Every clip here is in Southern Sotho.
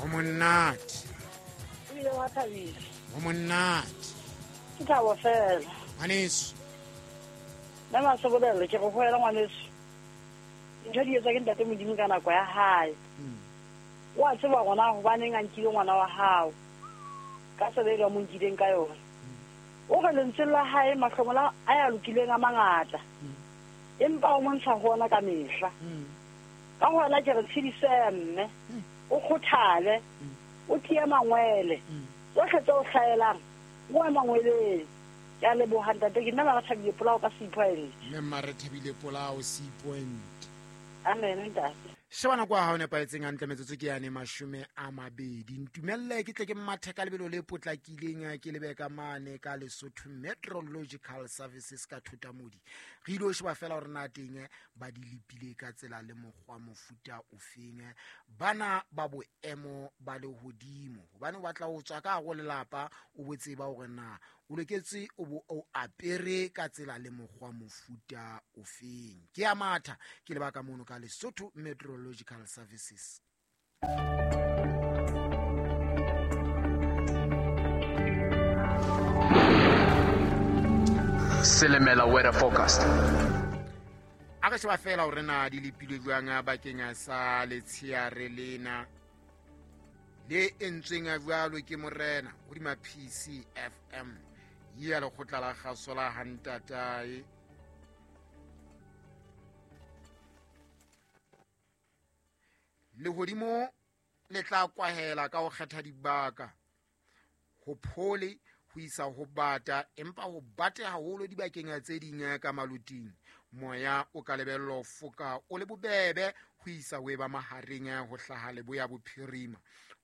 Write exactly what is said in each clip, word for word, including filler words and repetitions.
Ho monate. Ebile wa thabisa. Ho monate. Ke thabo fela. Ngwaneso. Mme Masebolelo ke go hoela ngwaneso. Ntho di etswa ke ntate Modimo ka nako ya hae. O a tseba gona hobaneng a nkile ngwana wa hao. Ka tsela e mo nkileng ka yona. O re lentswe la hae mahlomola a ya lokileng a mangata. Empa o montsha ho ona ka mehla. Ka hona ke re tshedise mme. O kgothale. O tie mangwele. Tsohle tse o hlaelang o a mangweleng. Ke a leboha ntate, ke nna Marethabile Polao ka Sea Point. Mme Marethabile Polao Sea Point. Amen ntate. Sheba nako ya hao nepahetseng hantle, metsotso ke yane mashome a mabedi. Ntumelle ke tle ke mathe ka lebelo le potlakileng ke lebe ka mane ka Lesotho Meteorological Services ka Thotamodi. Re ilo sheba fela hore na teng ba di lepile ka tsela le mokgwa mofuta ofeng bana ba boemo ba lehodimo, hobane o batla ho tswa ka hare ho lelapa o bo tseba hore na o loketse o bo o apere ka tsela le mokgwa mofuta ofeng. Ke a matha ke leba ka mono ka Lesotho Meteorological Services. Selemela weather forecast. A re sheba fela hore na di lepilwe jwang bakeng sa letsheare lena le entsweng jwalo ke morena hodima P C F M ya lekgotla la kgaso la Hantatae. Lehodimo le tla kwahela ka ho kgetha dibaka ho phole ho isa ho bata, empa ho bate haholo dibakeng tse ding ka maluting. Moya o ka lebellwa ho foka o le bobebe ho isa ho eba mahareng ho hlaha leboya bophirima.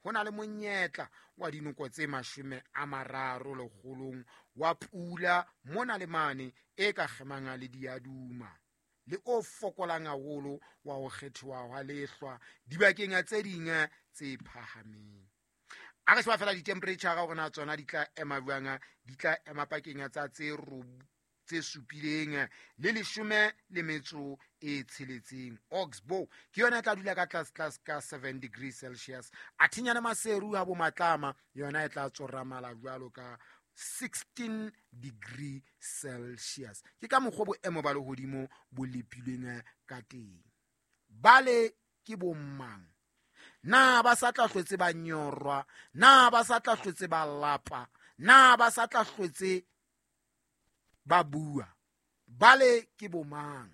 Ho na le monyetla wa dinoko tse mashome a mararo lekgolong wa pula mona le mane e ka kgemang le diaduma, le o fokolang haholo wa ho kgethiwa hwa lehlwa dibakeng tse ding tse phahameng. A re sheba fela di-temperature hore na tsona di tla ema jwang, di tla ema pakeng tsa tse tse supileng le leshome le metso e tsheletseng. Oxbow ke yona e tla dula ka tlase tlase ka seven degrees Celsius. Athinyana Maseru ha bo Matlama yona e tla tsoramala jwalo ka sixteen degree Celsius. Ke ka mokgwa boemo ba lehodimo bo lepilweng ka teng. Bale ke bommang? Na ba sa tla hlotse ba nyorwa? Na ba sa tla hlotse ba lapa? Na ba sa tla hlotse ba bua? Bale ke bomang?